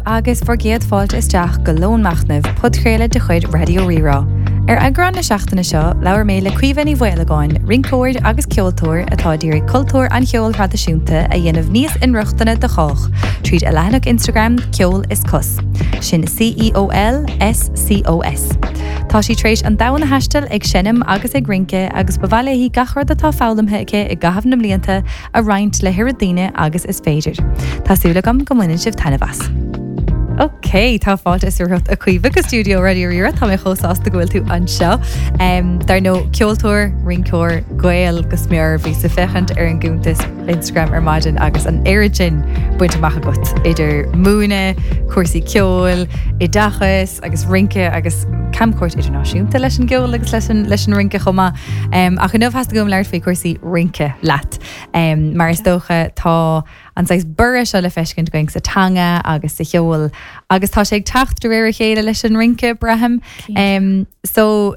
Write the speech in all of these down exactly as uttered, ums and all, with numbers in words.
agus bhur gcéad fáilte isteach go Lón Machnaimh, podchraoladh de chuid Raidió Rí-Rá. Ar eagrán na seachtaine seo, labhair mé le Caoimhe Ní Mhaolagáin, rinceoir agus ceoltóir atá ag iarraidh cultúr an cheoil thraidisiúnta a dhéanamh níos inrochtana do chách, tríd a leathanach Instagram Ceol is Cos. Sin C E O L S C O S. Tá sí tar éis an domhan a thaisteal ag seinm agus ag rince agus ba mhaith léi gach rud atá foghlamtha aici i gcaitheamh na mblianta a roinnt le hoiread daoine agus is féidir. Tá súil agam go mbaineann sibh taitneamh as. Ok, tá fáilte is romhat, a Chaoimhe, go stiúideo Raidió Rí-Rá. Tá mé chomh sásta go bhfuil tú anseo. Um, dar ndóigh, ceoltóir, rinceoir, Gael go smior. Bhíos ag féachaint ar an gcuntas Instagram ar maidin agus an oiread sin bainte amach agat idir múineadh, cúrsaí ceoil, oideachas agus rince agus camchuairt idirnáisiúnta leis an gceol agus leis an, leis an rince chomh maith. Um, ach inniu theastaigh uaim labhairt faoi cúrsaí rince leat. Um, mar is dócha tá an saghas borradh seo le feiscint againn sa teanga agus sa cheol agus tá sé ag teacht de réir a chéile leis an rince, braithim. Um, so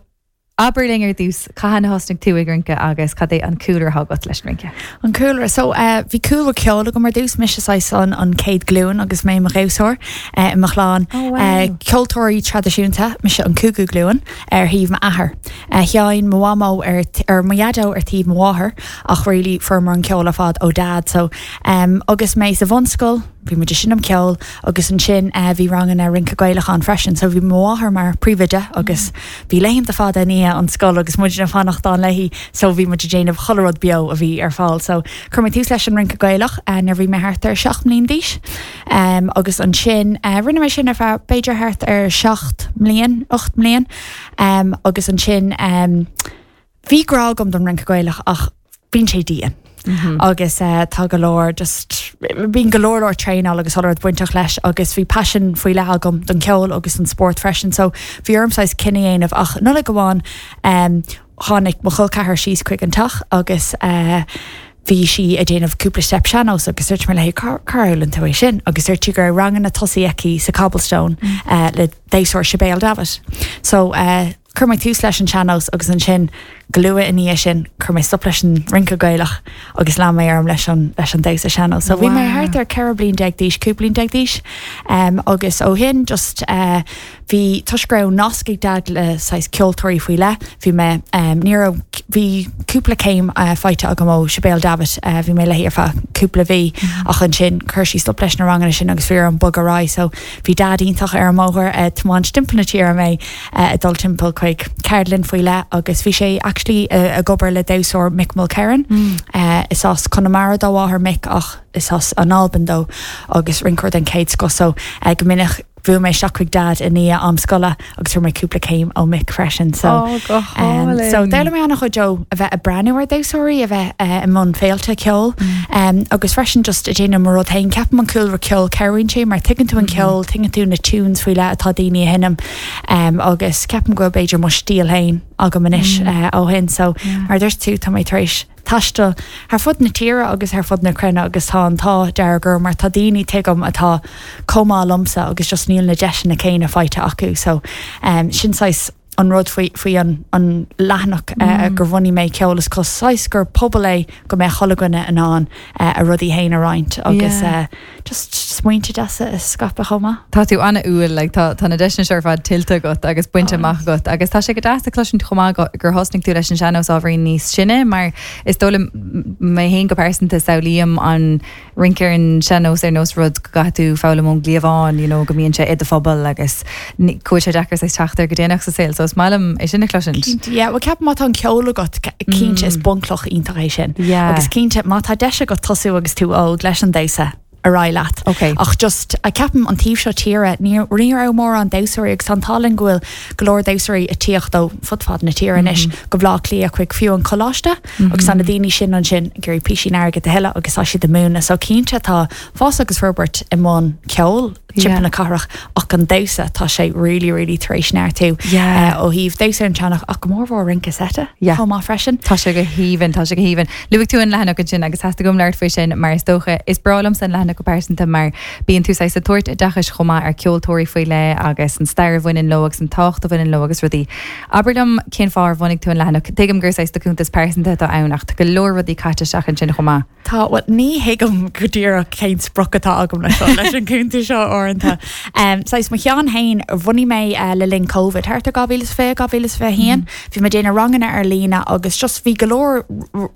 abair linn ar dtús, cathain a thosnaigh tú ag rince agus cad é an cúlra atá agat leis an rince? An cúlra, so uh, bhí cúlra ceoil agam ar dtús. Mise saghas an an chéad ghlúin agus mé mo dhamhsóir uh, i mo chlann. Oh, wow. uh, ceoltóirí traidisiúnta, mise an cúigiú glúin ar thaobh m'athar. Uh, Sheinn mo mhamó ar ar mo dhaideo ar taobh mo mháthar, ach really fuair an ceol ar fad ó dad. So um, agus mé sa bhunscoil, bhí muid ag seinm ceol agus ansin uh, bhí ranganna rince Gaelach ann freisin, so bhí mo mháthair mar príomhoide agus bhí laethanta fada i ndiaidh an scoil agus muid ag fanacht ann léi, so bhí muid ag déanamh chuile rud beo a bhí ar fáil. So chuir mé tús leis an rince Gaelach uh, nuair bhí mé thart ar seacht mbliana d'aois. Um, agus ansin uh, rinne mé sin ar feadh b'fhéidir thart ar seacht mbliana, ocht mbliana, um, agus ansin um, bhí grá agam don rince Gaelach ach bíonn sé dian. Mm -hmm. Agus uh, tá go leor just bíonn go leor leor traenáil agus rud bainteach leis agus bhí passion faoi leith agam don ceol agus an sport freisin, so bhí orm saghas cinneadh a dhéanamh. Ach Nollaig amháin um, tháinig mo chol ceathar síos chuig an teach agus uh, bhí sí ag déanamh cúpla step sean-nós agus dúirt mé léi, "Cár fhoghlaim tú é sin?" Agus dúirt sí go raibh ranganna tosaithe aici sa Cobblestone mm. uh, le damhsóir Sibéal Davitt. So uh, chuir mé tús leis an sean-nós agus ansin go luath i ndiaidh sin chuir mé stop leis an rince Gaelach agus lean mé orm leis an leis an damhsa sean-nós. So bhí mé thart ar ceithre bliana déag d'aois, cúig bliana déag d'aois, um, agus ó shin just uh, bhí toisc go raibh nasc ag dad le saghas ceoltóirí faoi leith, bhí mé um, ní raibh bhí cúpla céim uh, faighte agam ó Sibéal Davitt, uh, bhí mé léi ar feadh cúpla mhí mm -hmm. ach ansin chuir sí stop leis na ranganna sin agus bhí orm bogadh ar aghaidh, so bhí dad iontach ar an mbóthar uh, tiomáint timpeall na tíre mé uh, dul timpeall chuig ceardlann faoi leith agus bhí sé actually uh, ag obair le damhsóir Mick Mulkerrin mm. uh, is as Conamara dá mháthair Mick ach is as an Albain dó agus rinceoir den chéad scoth, so uh, go minic bhuail mé isteach chuig dad i ndiaidh am scoile agus fuair mé cúpla céim ó Mick freisin, so oh, go um, so d'fhoghlaim mé an-chuid ó a bheith ag breathnú ar damhsóirí, a bheith uh, i mbun féilte ceoil mm. um, agus freisin just ag déanamh mo rud féin. Ceapaim an cúlra ceol cabhraíonn sé mar tuigeann tú an mm. ceol, tuigeann tú na tunes faoi leith atá daoine a sheinm, um, agus ceapaim go b'fhéidir mo stíl féin agam anois mm. uh, ó shin, so yeah. mar dúirt tú, tá mé tar éis taisteal thar fud na tíre agus thar fud na cruinne agus tá an t-ádh dearg orm mar tá daoine tuigim atá chomh maith liomsa agus just níl na deiseanna céanna faighte acu, so um, sin saghas an rud faoi faoi an an leathanach mm. uh, gur bhunaigh mé Ceol is Cos, saghas gur pobal é go mbeidh chuile dhuine in ann uh, a rudaí féin a roinnt agus yeah. uh, just smaointe deasa a scaipeadh chomh maith. Tá tú an-fhearúil, like, tá tá na deiseanna seo ar fad tuillte agat agus bainte amach agat agus tá sé go deas a chloisint chomh maith gur thosnaigh tú leis an sean-nós ábhairín níos sine, mar is dóigh liom mé féin go pearsanta samhlaím an rince ar an sean-nós ar nós rud go gcaithfidh tú foghlaim ón gcliabhán, you know, go mbíonn sé i do phobal agus go bhfuil sé deacair saghas teacht air go déanach sa saol, so is maith liom é sin a chloisint. Yeah, well ceapaim má tá an ceol agat, cinnte is bunchloch iontach é sin. Yeah. Agus cinnte má tá deis agat tosú agus tú óg leis an damhsa, ar aghaidh leat. Okay. Ach just a ceapaim an taobh seo tíre ní ní raibh mórán damhsóirí agus an tallann go bhfuil go leor damhsóirí ag tíocht ó fud fad na tíre anois go Baile Átha Cliath chuig fiú an coláiste agus tá na daoine sin ansin ag iarraidh píosa airgid a thuilleamh agus tá siad ag múineadh, so cinnte tá fás agus forbairt i mbun ceol timpeall na cathrach ach an damhsa, tá sé really really tar éis neartú Yeah. uh, ó thaobh damhsa an tsean-nós ach go mórmhór rince seite Yeah. chomh maith freisin. Tá sé go haoibhinn, tá sé go haoibhinn. Luaigh tú an leathanach ansin agus theastaigh uaim labhairt faoi sin mar is dócha is breá liomsa an leathanach go pearsanta mar bíonn tú saghas ag tabhairt oideachais chomh maith ar ceoltóirí faoi leith agus an stair a bhaineann leo agus an tábhacht a bhaineann leo agus rudaí. Abair liom cén fáth ar bhunaigh tú an leathanach. Tuigim gur saghas do chuntas pearsanta atá ann ach tá go leor rudaí caite isteach ansin chomh maith. Tá, well, ní thuigim go díreach cén sprioc atá agam leis seo, leis an cuntas seo. uaireanta. Um, Saghas mo cheann féin bhunaigh mé uh, le linn COVID thart ar dhá mhíle is fiche dhá mhíle is fiche haon, bhí mé déanamh ranganna ar líne agus just bhí go leor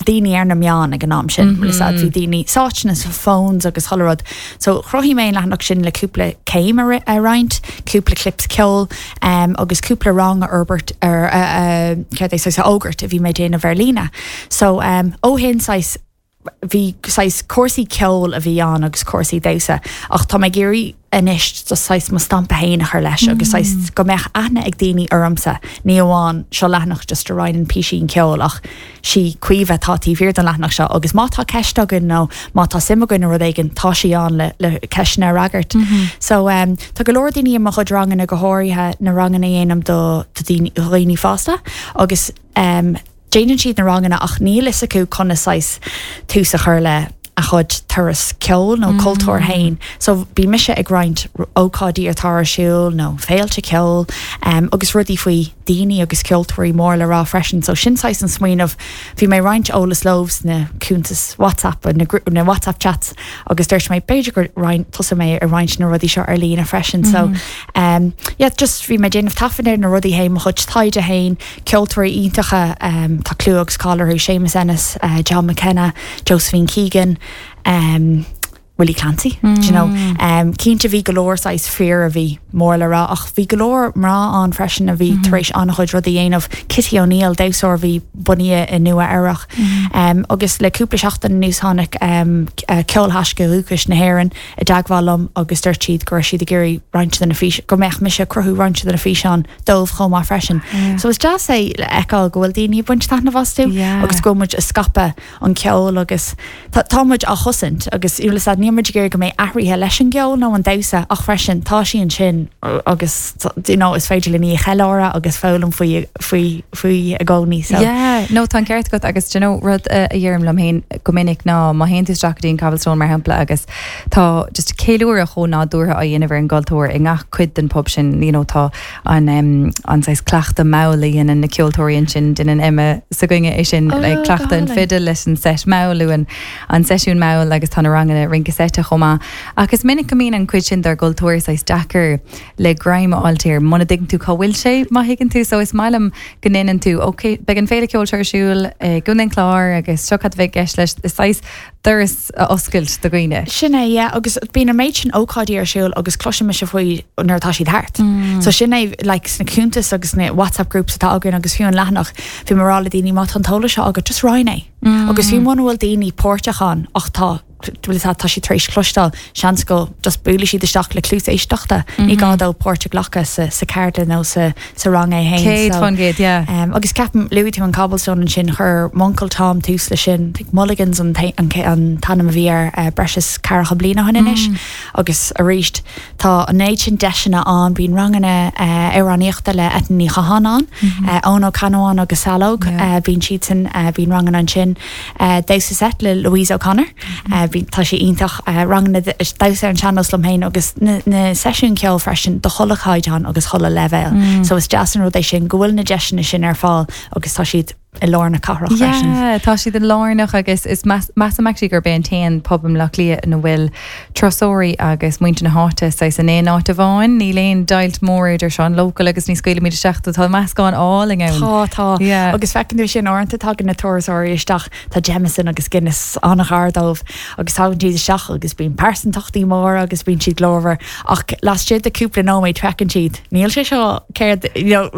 daoine ar na meáin ag an am sin mm -hmm. bhí daoine sáite sna phones agus chuile rud. So chruthaigh mé an leathanach sin le cúpla céim a roinnt, cúpla clips ceoil um, agus cúpla rang a fhorbairt ar uh, uh, a fhógairt a bhí mé déanamh ar líne. So um, ó shin saghas bhí saghas cúrsaí ceoil a bhí ann agus cúrsaí damhsa ach tá mé ag iarraidh anois do saghas mo stampa féin a chur leis agus mm. go mbeadh aithne ag daoine ormsa ní amháin seo leathanach just a roinneann píosaí ceoil ach sí Caoimhe atá taobh thiar den leathanach seo agus má tá ceist againn nó má tá suim againn i rud éigin tá sí ann le, le ceisteanna a fhreagairt. Mm -hmm. So um, tá go leor daoine i mo chuid ranganna go háirithe na ranganna a dhéanaim do dhaoine fásta agus um, déanann siad na ranganna ach níl fhios acu conas saghas tús a chur le a chuid turas ceoil nó mm. cultúr féin. So bhí mise ag roinnt ócáidí atá ar siúl nó féilte ceoil um, agus rudaí faoi daoine agus ceoltóirí mór le rá freisin, so sin saghas an smaoineamh bhí mé roinnt eolas leo sna cuntais WhatsApp na, na WhatsApp chats agus dúirt mé b'fhéidir gur tosóidh mé ar roinnt na rudaí seo ar líne freisin. Mm -hmm. So um, yeah, just bhí mé déanamh taifead ar na rudaí féin mo chuid taighde féin ceoltóirí iontacha um, tá clú agus cáil orthu Seamus Ennis, uh, John McKenna, Josephine Keegan, um, Willie Clancy mm. you know um, cinnte bhí go leor saghas fir a bhí mór le rá ach bhí go leor mná ann freisin a bhí mm -hmm. tar éis an-chuid rudaí a dhéanamh Kitty O'Neill damhsóir bhí bunaithe i Nua-Eabhrac mm -hmm. um, agus le cúpla seachtain anuas tháinig um, uh, Ceolthaisce Dúchais na hÉireann i dteagmháil liom agus dúirt siad go raibh siad ag iarraidh roinnt de na fís go mbeadh mise cruthú roinnt de na físeáin dóibh chomh maith freisin. Yeah. So is deas é le feiceáil go bhfuil daoine baint taitneamh astu Yeah. agus go muid ag scaipeadh an ceol agus tá muid á chosaint agus ní muid gur go mbeidh athruithe leis an gceol nó an damhsa ach freisin tá sí ansin agus you know, is féidir linn í a cheiliúradh agus foghlaim faoi faoi faoi i gcónaí so. Yeah, no tá ceart agat agus you know, rud a deirim liom féin go minic ná má théann tú isteach go dtí an Cobblestone mar shampla agus tá just ceiliúradh chomh nádúrtha á dhéanamh ar an gcultúr i ngach cuid den pub sin you know, tá an um, an saghas cleachtadh mall a dhéanann na ceoltóirí ansin déanann Emma s'againne é sin Oh, like, cleachtadh an go fiddle leis an set mall an an seisiún mall agus tá na ranganna rince seite chomh maith. Agus minic go mbíonn an cuid sin dár gcultúr saghas deacair le greim a fháil air muna dtuigeann tú cá bhfuil sé má thuigeann tú so is maith liom go ndéanann tú ok beidh an féile ceoil seo ar siúl i gContae an Chláir agus seo cad a bheidh i gceist leis is saghas doras a oscailt do dhaoine. Sin é yeah, agus bíonn an méid sin ócáidí ar siúl agus cloisim mise faoi nuair atá siad thart. Mm. So sin é like, sna cuntais agus na WhatsApp groups atá againn agus fiú an leathanach bhí mé ag rá le daoine má tá an t-eolas seo agat just roinn é. Mm. Agus fiú muna bhfuil daoine páirteach ann ach tá bhfuil tá siad tar éis cloisteáil seans go just buailfidh siad isteach le cluas éisteachta ní gá dóibh páirt a ghlacadh sa sa cheardlann nó sa sa rang é féin. Céad So, faoin gcéad, yeah. Um, agus ceapaim luaigh tú an Cobblestone ansin chuir m'uncail Tom tús leis sin Think Mulligans an t- an an t-ainm a bhí ar uh, breis is ceathracha bliain ó shin anois mm. agus arís tá an méid sin deiseanna ann bíonn ranganna uh, amhránaíochta le Eithne Ní Chatháin ann mm -hmm. uh, Eoin Ó Ceannabháin agus Salóg Yeah. uh, bíonn siad sin uh, bíonn ranganna ansin uh, Damhsa Seit le Louise O'Connor mm -hmm. uh, bhí tá sé iontach uh, ranganna damhsa ar an sean-nós liom féin agus na, na seisiún ceoil freisin do chuile chaighdeán agus chuile leibhéal. Mm. So is deas an rud é sin go bhfuil na deiseanna sin ar fáil agus tá siad i lár na cathrach freisin. Yeah, tá siad an lárnach agus is measaim actually gurb é an t-aon pub i mBaile Átha Cliath ina bhfuil turasóirí agus muintir na háite saghas in aon áit amháin, níl aon deighilt mór idir seo an local agus ní scaoilimid isteach tá meascán álainn ann. Tá tá Yeah. agus feiceann tú sin uaireanta tagann na turasóirí isteach tá Jameson agus Guinness an-ghar dóibh agus tagann siad isteach agus bíonn pearsantachtaí móra agus bíonn siad glórmhar ach laistigh de cúpla nóiméad feiceann siad. Níl sé seo céard you know,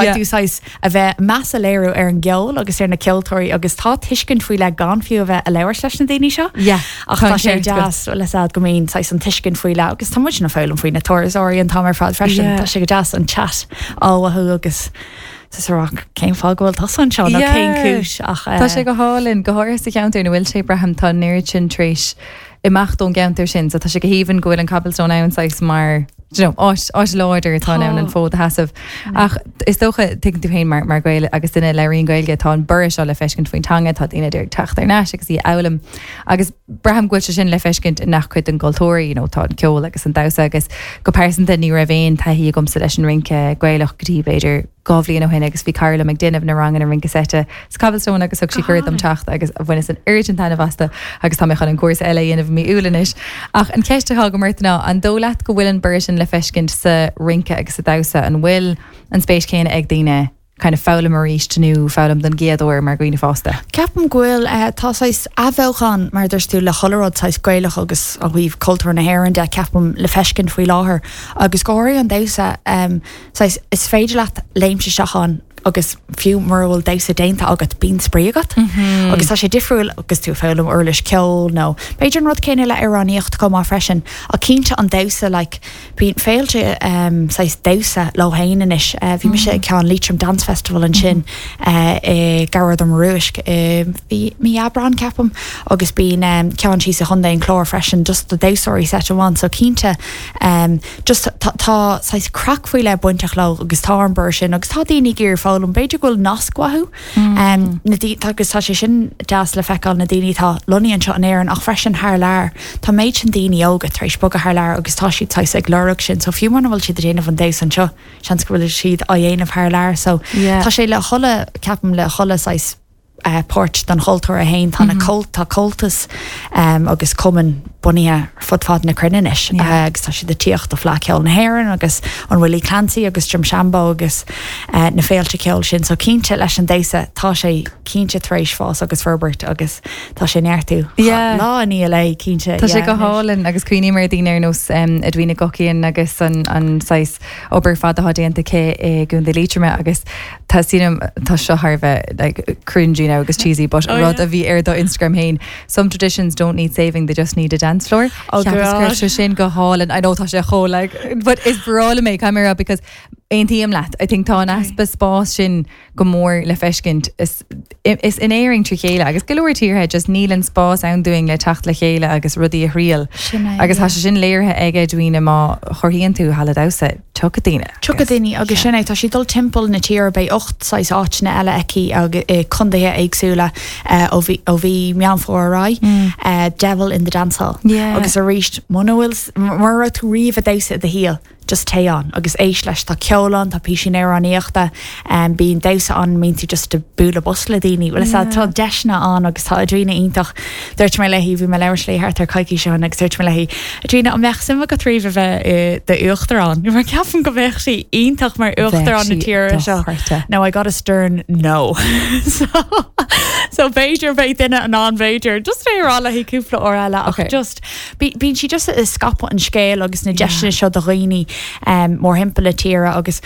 Yeah. tú saghas a bheith meas a léiriú ar an gceol agus ar na ceoltóirí agus tá tuiscint faoi leith gan fiú a bheith ag labhairt leis na daoine seo. Yeah, ach tá tá sé ceart agat. deas le go mbíonn saghas an tuiscint faoi leith agus tá muid ag foghlaim faoi na turasóirí an t-am ar fad freisin Yeah. tá sé go deas an chat á mhothú agus rá cén fáth go bhfuil tusa anseo nó Yeah. cén cúis ach Tá sé go hálainn go háirithe sa cheantar ina bhfuil sé braithim tá an oiread sin tar éis imeacht ón gceantar sin, so tá sé go haoibhinn go bhfuil an Cobblestone ann saghas mar you know, áit áit láidir atá ann an fód a sheasamh. Ach is dócha tuigeann tú féin mar mar Gael agus duine a labhraíonn Gaeilge tá an borradh seo le feiscint faoin teanga tá daoine ag teacht thar n-ais agus í a fhoghlaim. Agus braithim go bhfuil sé sin le feiscint i ngach cuid den gcultúr, you know, tá an ceol agus an damhsa agus go pearsanta ní raibh aon taithí agamsa leis an rince Gaelach go dtí b'fhéidir dhá bhliain ó shin agus bhí cara liom ag déanamh na ranganna rince seite sa Cobblestone agus thug sí cuireadh dom teacht agus bhaineas an oiread sin taitneamh astu agus tá mé chun an cúrsa eile a dhéanamh mí Iúil anois. Ach an cheist atá agam ort ná an dóigh leat go bhfuil an borradh sin le feiscint sa rince agus sa damhsa an bhfuil an spéis céanna ag daoine kind of foghlaim arís nó foghlaim den gcéad uair mar dhaoine fásta. Ceapaim go bhfuil uh, tá saghas athbheochan mar dúirt tú le chuile rud saghas Gaelach agus ó thaobh cultúr na hÉireann de ceapaim le feiscint faoi láthair agus go háirithe an damhsa um, saghas is féidir leat léimt isteach ann agus fiú mura bhfuil damhsa déanta agat bíonn spraoi agat mm -hmm. agus tá sé difriúil agus tú foghlaim uirlis ceoil nó b'fhéidir an rud céanna le amhránaíocht chomh maith freisin a cinnte an damhsa like, bíonn féilte um, saghas damhsa leo féin anois uh, bhí mise ag ceann Leitrim Dance Festival ansin uh, i Gearrad an Rúisc bhí mí Aibreán ceapaim agus bíonn um, ceann sí sa Chontae an Chláir freisin just do damhsóirí set amháin so cinnte um, just tá tá saghas craic faoi leith bainteach leo agus tá an borradh sin agus tá daoine ag iarraidh foghlaim b'fhéidir go bhfuil nasc uathu um, na dí agus tá sé sin deas le feiceáil na daoine tá lonnaithe anseo in Éirinn ach freisin thar lear Tá méid sin daoine óga tar éis bogadh thar lear agus tá siad saghas ag lorg sin so fiú mura bhfuil siad ag déanamh an damhsa anseo seans go bhfuil siad á dhéanamh thar lear so Yeah. tá sé le chuile ceapaim le chuile saghas uh, páirt den chultúr a haon tá mm -hmm. tá cultas um, agus cumainn bunaithe fud fad na cruinne anois Yeah. uh, agus tá siad ag tíocht do Fleadh Cheoil na hÉireann agus an Willie Clancy agus Drumshanbo agus uh, na féilte ceoil sin so cinnte leis an damhsa tá sé cinnte tar éis fás agus forbairt agus tá sé neartú Yeah. lá ní le cinnte Tá sé go hálainn agus cuimhním ar daoine ar nós um, Edwina Guckian agus an, an saghas obair fada atá déanta aici i gContae Liatroma agus tá sínam tá seo thar bheith like, cringy now agus cheesy, but Oh, rud yeah. a bhí ar do Instagram féin. Some traditions don't need saving, they just need a dance floor. Oh, Cheapas God. sé sin go hálainn. I know tá sé chomh like, but is breá liom é camera because aontaím leat. I think tá an easpa spás sin go mór le feiscint is, is in Éirinn trí chéile agus go leor tíortha just níl an spás ann dúinn le teacht le chéile agus rudaí a thriail. Sin é, Agus yeah. tá sé sin léirithe ag Edwina má chothaíonn tú halla damhsa tiocfaidh daoine. Tiocfaidh daoine agus sin é tá sí dul timpeall na tíre beidh ocht saghas áiteanna eile aici agus i contaetha éagsúla eh, ó bhí ó bhí Meán Fómhair ar aghaidh Devil in the Dance Hall. Yeah. agus arís muna bhfuil mura raibh tú riamh ag damhsa i do shaol just téigh ann agus éist leis tá ceol ann tá píosaí amhránaíochta um, bíonn damhsa ann bíonn tú just ag bualadh bos le daoine well yeah. tá deiseanna ann agus tá Edwina iontach dúirt mé léi bhí mé ag labhairt léi thart ar coicís ó shin agus dúirt mé léi Edwina an mbeadh suim agat riamh a bheith i d'uachtarán mar ceapaim go bheadh sí iontach mar uachtarán na sí tíre seo dochreidte. Now I got a stern no so so b'fhéidir beidh duine an an b'fhéidir just é rá léi cúpla uair eile ach Okay. just bíonn sí just ag scaipeadh an scéal agus na deiseanna seo do dhaoine um, mórthimpeall na tíre agus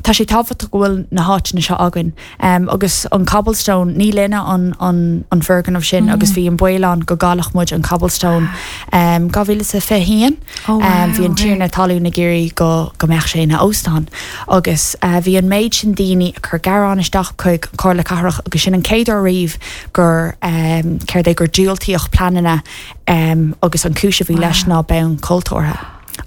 tá sé tábhachtach go bhfuil na háiteanna seo againn um, agus an Cobblestone ní linne an, an, an foirgneamh sin mm. agus bhí an baol ann go gcaillfeadh muid an Cobblestone um, dhá mhíle is fiche haon Oh, wow, um, bhí an okay. tiarna talún ag iarraidh go go mbeadh sé ina óstán agus uh, bhí an méid sin daoine ag cur gearán isteach chuig Comhairle Cathrach agus sin an chéad uair riamh gur um, céard é gur diúltaíodh pleananna um, agus an chúis a bhí leis ná bonn cultúrtha.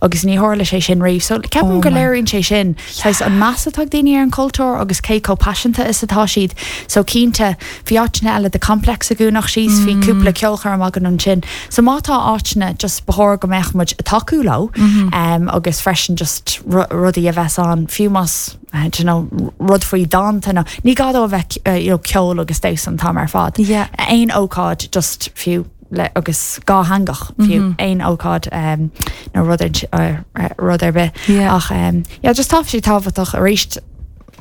Agus ní tharla sé sin riamh, so ceapaim Oh go my- léiríonn sé sin yeah. an meas atá ag daoine ar an cultúr agus cé chomh paiseanta is atá siad, so cinnte bhí áiteanna eile de complex agúnach síos bhí cúpla ceolchoirm againn ansin. So má tá áiteanna just ba chóir go mbeadh muid ag tacú leo um, agus freisin just ru- rudaí a bheith ann fiú más uh, you know, rud faoi dánta nó ní gá dó a bheith uh, you know, ceol agus damhsa an t-am ar fad. Yeah. Aon ócáid just fiú le agus dátheangach fiú mm -hmm. aon ócáid um, nó rud ar- uh, rud ar bith Yeah. ach um, yeah, just tá sé tábhachtach arís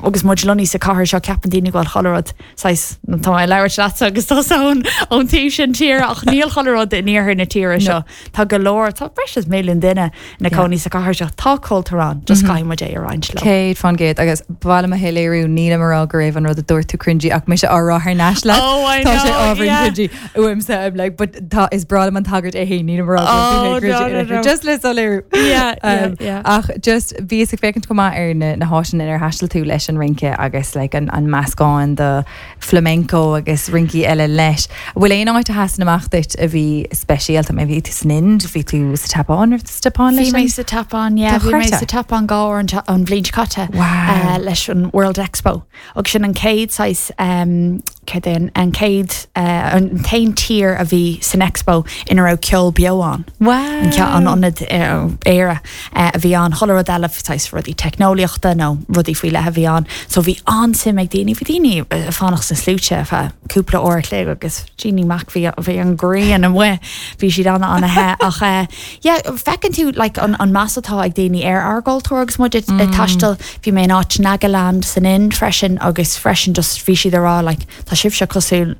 agus muid lonnaithe sa chathair seo ceapann daoine go bhfuil chuile rud saghas tá mé ag labhairt leatsa agus tá ón ón taobh sin tíre ach níl chuile rud in iarthar na tíre seo Tá go leor tá breis is milliún duine ina gcónaí sa chathair seo tá cultúr ann just caithfidh muid é a roinnt leo. Céad faoin gcéad agus bhile a héléiriú níle mará go raibh an rud a dúirt tú cringy ach mise á rá thar n-ais leat. Oh, I Tá sé know, ábhar yeah. cringy uaimse I'm like but tá is breá liom an tagairt é féin níl mar Oh, no, no, no. just le soiléiriú. Yeah, yeah, Um, yeah. Ach just bhíos ag féachaint go maith ar na, na háiteanna inar thaistil tú leis an rince agus like, an, an meascán de flamenco agus rincí eile leis. Bhfuil aon áit a sheasann amach duit a bhí speisialta mé bhí tú san Ind, bhí tú sa tSeapáin ar sa Tseapáin Bhí leis mé an? sa Tseapáin yeah, bhí mé Dochreidte. sa Tseapáin dhá uair an ta- an bhliain seo caite Wow. uh, leis an World Expo. Agus sin an chéad saghas um, céard é an an chéad uh, an t-aon tír a bhí san Expo ina raibh ceol beo ann. Wow. An ce- an ionad uh, Éire uh, a bhí an chuile rud eile saghas rudaí teicneolaíochta nó rudaí faoi leith a bhí ann so bhí an-suim ag daoine bhí daoine ag fanacht sna sluaite feadh cúpla uair an chloig agus Jeannie Mac bhí bhí an ghrian amuigh bhí siad an an-the ach uh, yeah, feiceann tú like, an, an meas atá ag daoine ar ár gcultúr agus muid mm. ag taisteal bhí mé in áit Nagaland san Ind freisin agus freisin just bhí siad ag rá like, tá sibhse cosúil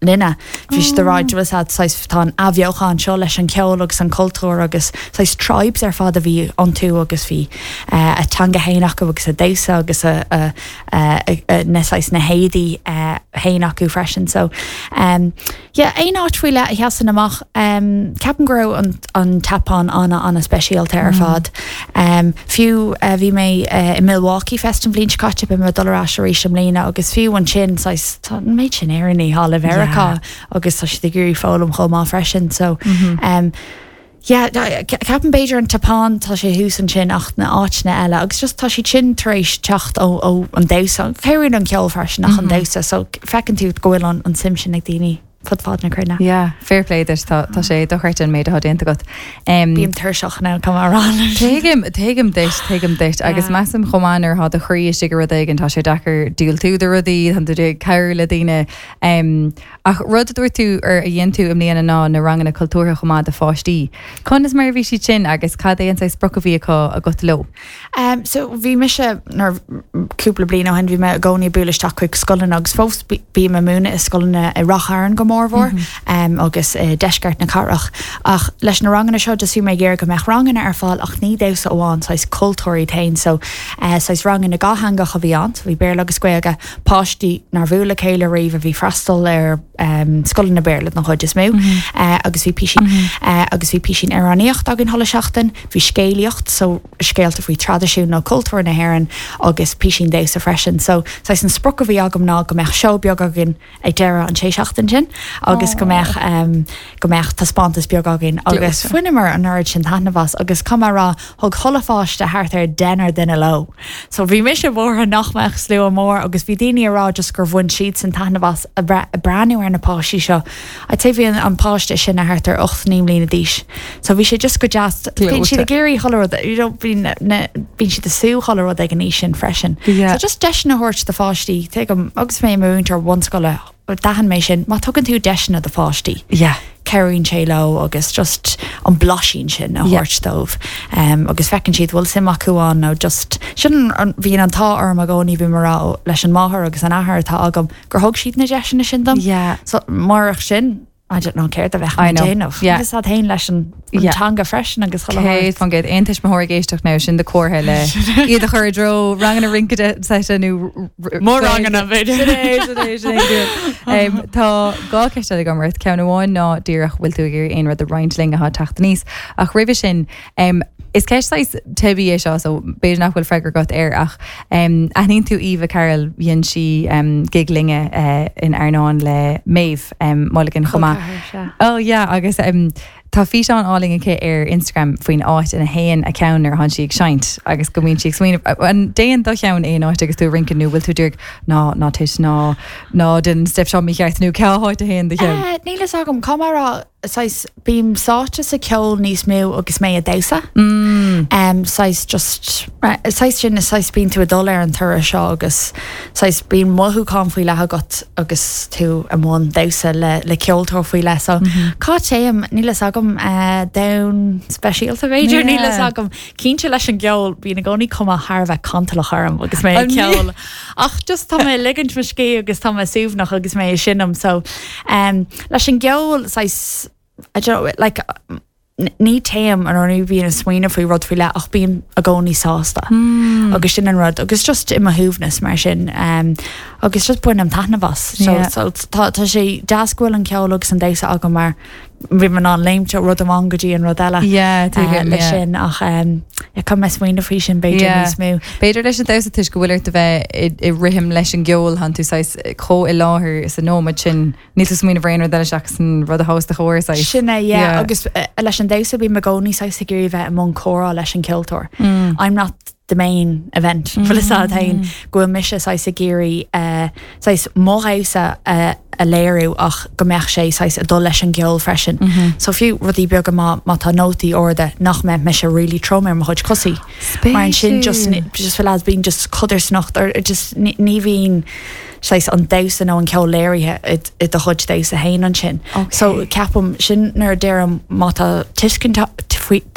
linne bhí siad ag rá oh. tá an athbheochan seo leis an ceol agus an cultúr agus saghas tribes ar fad a bhí iontu agus bhí uh, a teanga féin acu agus a damhsa agus a, a, a, a, na saghas na héadaí uh, féin acu freisin so um, yeah, aon áit faoi leith a sheasann amach um, ceapaim go raibh an, an tSeapáin ana ana speisialta ar fad. Um, fiú uh, bhí mé uh, i Milwaukee Fest an bhliain seo caite beidh mé ag dul ar ais arís i mbliana agus fiú ansin an méid sin Éireannaigh thall i Meiriceá yeah. agus tá siad ag iarraidh foghlaim chomh maith freisin so mm -hmm. um, Yeah, ceapaim b'fhéidir an tSeapáin tá sé thuas ansin ach na háiteanna eile, agus just tá siad sin tar éis teacht ó ó an damhsa céir an ceol freisin ach an mhm. damhsa, so feiceann tú go bhfuil an an suim sin ag daoine fud fad na cruinne. Yeah, fair play duit tá tá sé dochreidte an méid atá déanta agat. Um, Bím tuirseach now come rá. Tuigim tuigim duit tuigim duit agus measaim chomh maith nuair atá do chroí istigh i rud éigin tá sé deacair diúltú do rudaí tá tú ag cabhrú le daoine. Um, ach rud a dúirt tú ar a dhéan tú i mbliana ná na ranganna cultúrtha chomh maith do pháistí. Conas mar a bhí siad sin agus cad é an saghas sprioc a bhí acu agat leo. Um, so bhí mise nar cúpla bliain ó shin bhí mé i gcónaí ag bualadh isteach chuig scoileanna agus fós bím ag múineadh i scoileanna i Ráth Chairn go mórmhór mm -hmm. um, agus uh, deisceart na cathrach. Ach leis na ranganna seo just bhí mé ag iarraidh go mbeadh ranganna ar fáil ach ní damhsa amháin saghas cultúr féin so uh, saghas ranganna dátheangach a bhí ann, so bhí Béarla agus Gaeilge páistí nár bhuail le chéile riamh a bhí freastal ar um, scoileanna Béarla an chuid is mó mm -hmm. uh, agus bhí píosaí mm -hmm. uh, agus bhí píosaí amhránaíocht againn chuile seachtain, bhí scéalaíocht so scéalta faoi traidisiún nó cultúr na hÉireann agus píosaí damhsa freisin. So saghas an sprioc a bhí agam ná go mbeadh seó beag againn ag deireadh an sé seachtain sin agus go mbeadh um, go mbeadh taispeántas beag againn agus bhaineamar an oiread sin taitneamh as agus cam rá thug chuile pháiste thart ar deichniúr duine leo. So bhí mise buartha nach mbeadh slua mór agus bhí daoine ag rá just gur bhain siad an taitneamh as ag breathnú ar na páistí seo. A te bhí an páiste sin a thart ar ocht naoi mbliana d'aois. So bhí sé just go deas bíonn siad ag iarraidh chuile rud bíonn siad ag súil chuile rud ag an aois sin freisin. Yeah. So just deiseanna a thabhairt do pháistí tuigim agus mé múinteoir bunscoile d'aithin mé sin má tugann tú deiseanna do pháistí. Yeah. Cabhraíonn sé leo agus just an blaisín sin a Yeah. thabhairt dóibh um, agus feiceann siad bhfuil suim acu ann nó just sin an- bhíonn an t-ádh orm i gcónaí bhí mar leis an máthair agus an athair atá agam gur thug siad na deiseanna sin dom. Yeah. So murach sin I don't know céard a bheadh I know. déanamh. Yeah. Agus ad hain leis an an Yeah. teanga freisin agus Céad faoin gcéad aon tuismitheoir ag éisteacht now sin do chomhartha le iad a chur i dtreo ranganna rince seite nó Mór ranganna, b'fhéidir. Sin é, sin é, sin é, sin é. Um, Tá dhá cheist eile agam ort ceann amháin ná díreach bhfuil tú ag iarraidh aon rud a roinnt linn atá ag teacht aníos ach roimhe sin um, is ceist saghas teibí é seo so b'fhéidir nach bhfuil freagra agat air ach um, aithníonn tú Eva Carroll dhein sí um, gig linne uh, in Airneán le Maeve um, Mulligan chomh maith. Oh yeah agus um, tá físeán álainn aici ar Instagram faoin áit ina théann a ceann nuair atá sí ag seinnt agus go mbíonn sí ag smaoineamh an dtéann do cheann aon áit agus tú ag rince nó bhfuil tú díreach ná ná tit ná ná den step seo mícheart nó cá háit a théann do cheann. Uh, Níl a fhios agam cá rá saghas bím sáite sa ceol níos mó agus mé ag damhsa. Mm. Um, saghas just saghas sin is saghas bíonn tú ag dul ar an turas seo agus saghas bíonn mothúchán faoi leith agat agus tú i mbun damhsa le le ceoltóir faoi leith so mm -hmm. Cá dtéim níl a fhios agam uh, domhan speisialta b'fhéidir níl a fhios Yeah. agam cinnte leis an gceol bíonn i gcónaí cuma thar bheith cantalach orm agus mé An- ceol ach just tá mé ligint mo scíth agus tá mé suaimhneach agus mé seinm so um, leis an gceol saghas I don't know, like n- ní théim an ní bhíonn ag smaoineamh faoi rud faoi leith ach bím i gcónaí sásta Mm. agus sin an rud agus just i mo shuaimhneas mar sin um, agus just bainim taitneamh as so, Yeah. so tá tá sé deas go bhfuil an ceol agus an damhsa agam mar bhí an an léimte rud amháin go dtí an rud eile Yeah, uh, tuigim, le yeah. sin ach um, yeah, mé smaoineamh faoi sin b'fhéidir Yeah. níos mó. B'fhéidir leis an damhsa toisc go bhfuil ort a bheith i- i rithim leis an gceol tánn tú saghas chomh i láthair sa nóiméad sin níl tú smaoineamh ar aon rud eile seachas an rud a os do chomhair saghas. Sin é yeah, Yeah. agus uh, leis an damhsa bím i gcónaí saghas ag iarraidh bheith i mbun comhrá leis an ceoltóir. Mm. I'm not the main event bhfuil a fhios agat féin go bhfuil mise saghas ag iarraidh uh, saghas mo dhamhsa uh, a léiriú ach go mbeadh sé saghas ag dul leis an gceol freisin. Mm -hmm. So fiú rudaí beaga má má tá nótaí arda nach mbeidh mise really trom ar mo chuid cosaí. Mar sin just just bhfuil bíonn just codarsnacht or just ní bhíonn saghas an damhsa nó an ceol léirithe i do chuid damhsa féin ansin. Okay. So ceapaim sin nuair a deirim má tá tuiscint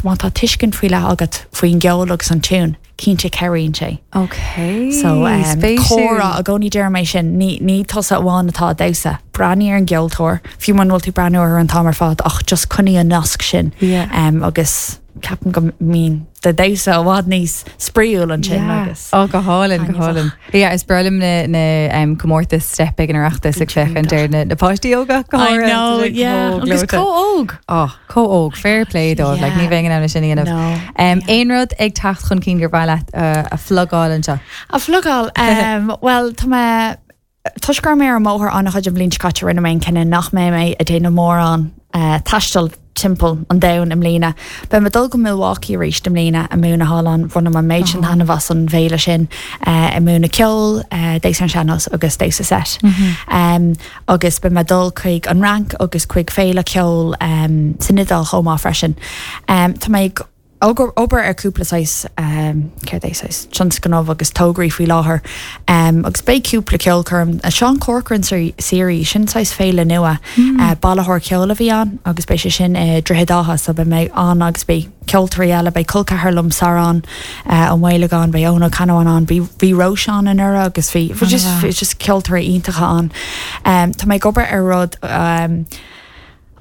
má tá tuiscint faoi leith agat faoin gceol agus an tiún, cinnte cabhraíonn sé. Okay. So um, comhrá i gcónaí deirim é sin ní ní tusa amháin atá damhsa. Breathnaigh ar an gceoltóir, fiú mura bhfuil tú breathnú ar an t-am ar fad ach just coinnigh an nasc sin Yeah. um, agus ceapaim go mbíonn do dhamhsa i bhfad níos spraíúil ansin agus. Ó go hálainn go Taitneamhach. hálainn. Ja, is breá liom na na um, comórtas step ag an Oireachtas ag féachaint ar na, na páistí óga go I háirithe, know, tá sé yeah. chomh Agus gleoite. chomh óg. Oh, chomh óg, fair play dóibh, like, ní Yeah. bheinn in ann sin a dhéanamh. No. Um, Aon rud ag teacht chun cinn gur mhaith leat uh, a phlugáil anseo. A phlugáil um, well tá mé toisc go raibh mé ar an mbóthar an-chuid an bhliain seo caite rinne mé an cinneadh nach mbeidh mé ag déanamh mórán uh, taistil timpeall an domhain i mbliana. Beidh mé ag dul go Milwaukee arís i mbliana ag múineadh thall ann bhain mé méid sin taitneamh as an bhféile sin uh, ag múineadh ceol, uh, damhsa an sean-nós agus damhsa set. Mm -hmm. um, agus beidh mé ag dul chuig an Fhrainc agus chuig féile ceol um, san Iodáil chomh maith freisin. Um, tá mé ag obair obair ar cúpla saghas um, céard é saghas tionscnamh agus tograí faoi láthair um, agus beidh cúpla ceolchoirm a Sean Corcoran series sin saghas féile nua mm. uh, bailitheoir ceoil a bhí ann agus beidh sé sin uh, Droichead Átha so beidh mé ann agus beidh ceoltóirí eile beidh col ceathar liom Sarán uh, Ó Maolagáin beidh Eoin Ó Ceannabháin ann bhí bhí Róisán in anuraidh agus bhí bhí just bhí just ceoltóirí iontacha ann. Um, tá mé ag obair ar rud um,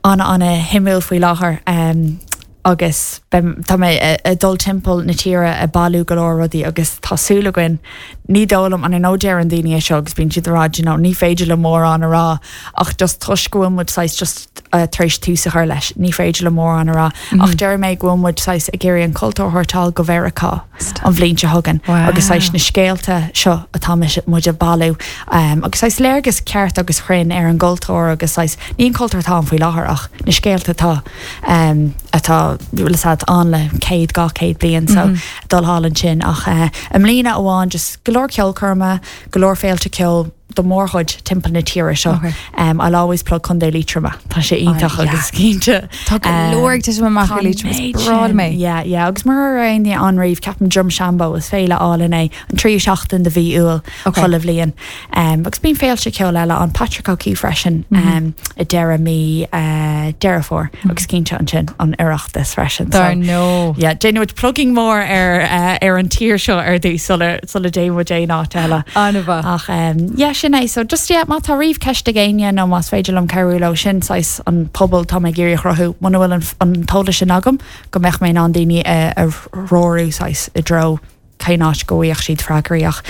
an an-shuimiúil faoi láthair um, agus tá mé ag dul timpeall na tíre ag bailiú go leor rudaí agus tá súil againn ní dólam an nó deir an daoine seo agus bíonn siad ag rá you know, ní féidir le mórán a rá ach just toisc go bhfuil muid saghas just uh, tar éis tús a chur leis ní féidir le mórán a rá mm -hmm. ach deir mé go bhfuil muid saghas ag iarraidh an cultúr a thabhairt go Mheiriceá an bhliain seo chugainn Wow. agus saghas na scéalta seo atá muid ag bailiú um, agus saghas léargas ceart agus cruinn ar an gcultúr agus saghas ní an cultúr atá faoi láthair ach na scéalta atá um, atá le sad an le céad dhá chéad bliain so mm -hmm. dul thall ansin ach uh, i mbliana amháin just go leor ceolchoirmeacha go leor féilte ceoil do mórchuid timpeall na tíre seo. Okay. Um, I'll always plug Contae Liatroma Tá sé iontach Oh, yeah. agus cinnte. Tá go leor ag titim amach i Liatroim, is breá liom é. Yeah, yeah, agus mar aon an riomh ceapaim Drumshanbo is féile álainn é an tríú seachtain de mhí Iúil Okay. chuile bhliain. Um, agus bíonn féilte ceoil eile an Patrick O'Keefe freisin mm -hmm. um, i deireadh mí uh, Deireadh Fómhair mm -hmm. agus cinnte ansin an Oireachtas freisin. Dar no. Yeah, déanfaidh muid plugging mór ar uh, ar an tír seo ar dtús sula sula dtéann muid aon áit eile. An-mhaith. Ach um, yeah, sin é so just yeah, má tá riamh ceist ag éinne nó más féidir liom cabhrú leo sin saghas an pobal tá mé ag iarraidh a chruthú muna bhfuil an, an t-eolas sin agam go mbeadh mé an daoine a, a threorú saghas i dtreo cén áit go bhfuigheadh siad freagraí ach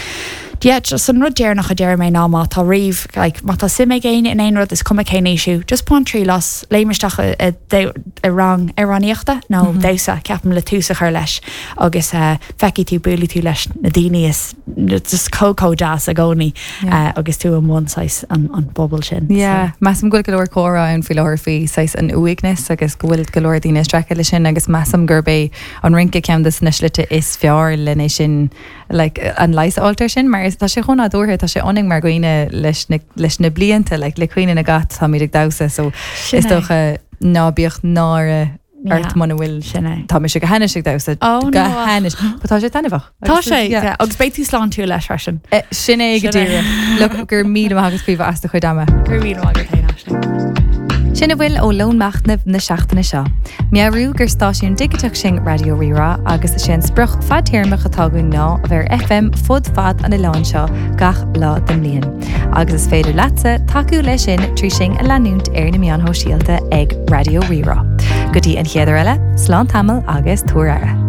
Yeah, just an rud deireanach a deir mé ná má tá riamh like, má tá suim ag éinne in aon rud is cuma cén aois just bain triail as léim isteach i, i, i rang amhránaíochta nó mm -hmm. damhsa ceapaim le tús a chur leis agus uh, feicfidh tú buailfidh tú leis na daoine is just chomh chomh deas i gcónaí Yeah. uh, agus tú i mbun saghas an, an bobal sin. Yeah, Measaim go bhfuil go leor comhrá ann faoi láthair faoi saghas an uaigneas agus go bhfuil go leor daoine ag streachailt leis sin agus measaim gurb é an rince ceann de na slite is fearr lena sin like, an leigheas a fháil air sin mar is tá sé chomh nádúrtha tá sé ionainn mar dhaoine leis na, leis na blianta like, le cuimhne na gcat táimid ag damhsa so Sin is é. dócha ná bíodh náire Yeah. ort muna bhfuil Sin é. tá mise go hainnis ag damhsa Oh, no, go ach. hainnis Ba tá sé taitneamhach Tá sé Yeah. yeah. agus beidh tú sláintiúil leis freisin. Eh, Sin é go Sin é. díreach. Look gur míle maith agat Caoimhe as do chuid ama. Gur mí agat féin Aisling. Sin a bhfuil ó Lón Machnaimh na seachtaine seo. Meabhrú gur stáisiún digiteach sinn Raidió Rí-Rá agus is é an sprioc fadtéarmach atá againn ná a bheith ar FM fud fad an oileáin seo gach lá den bhliain. Agus is féidir leatsa tacú leis sin trí sinn a leanúint ar na meáin shóisialta ag Raidió Rí-Rá. Go dtí an chéad uair eile, slán tamall agus tabhair aire.